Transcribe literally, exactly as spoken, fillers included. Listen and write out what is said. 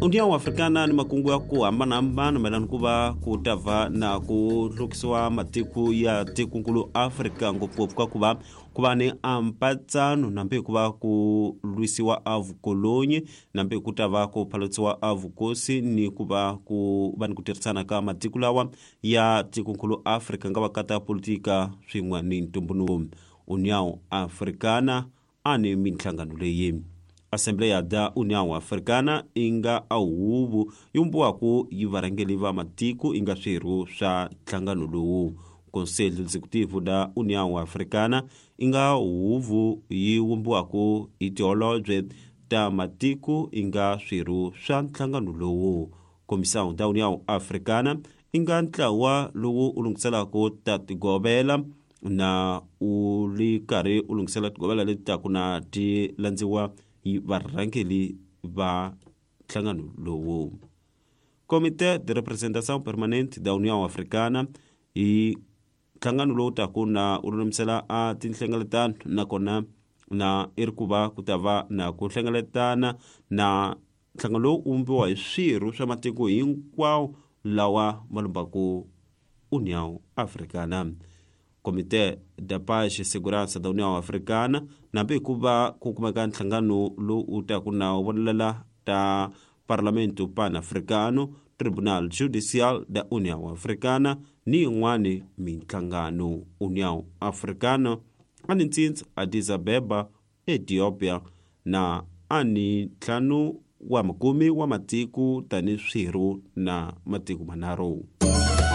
União Africana ni makungu ya ku hambanahambana mayelana ku va ku ta va na ku hlukisiwa matiko ya tikonkulu Afrika, ngopfungopfu ka ku va ku va ni ampatsano nambe ku va ku lwisiwa a vukolonyi, nambe ku ta va ku phalatiwa a vukosi ni ku va ku va ni ku tirhisana ka matiko lawa ya tikonkulu Afrika nga va ka ta politika swin'we ni ntumbuluko. União Africana a ni minhlangano leyi. Assembleia da União Africana i nga a huvo yi vumbiwaka yi varhangeri va matiko i nga swirho swa nhlangano lowu. Conselho Executivo da União Africana i nga huvo yi vumbiwaka hi tiholobye ta matiko i nga swirho swa nhlangano lowu. Comissão da União Africana i nga ntlawa lowu u lunghiselaka ta tigovela na u ri karhi u lunghisela tigovela leti taku na ti landziwa hi varhangeri va nhlangano lowu. Comité de Representação Permanente da União Africana i nhlangano lowu taku na u lulamisela a tinhlengeletano, nakona na i ri ku va ku ta va na ku hlengeletana na nhlangano lowu u vumbiwa hi swirho swa matiko hinkwawo lawa ma lumbaku União Africana. Comité da Paz e Segurança da União Africana nambe ku va ku kumeka nhlangano lowu u taku na wu vonelela ta Parlamento Pan-Africano, Tribunal Judicial da União Africana ni yin'wani minhlangano. União Africana a ni ntsindza Addis Abeba, Ethiopia, na a ni ntlhanu wa makume wa matiko tani swirho na matiko manharhu.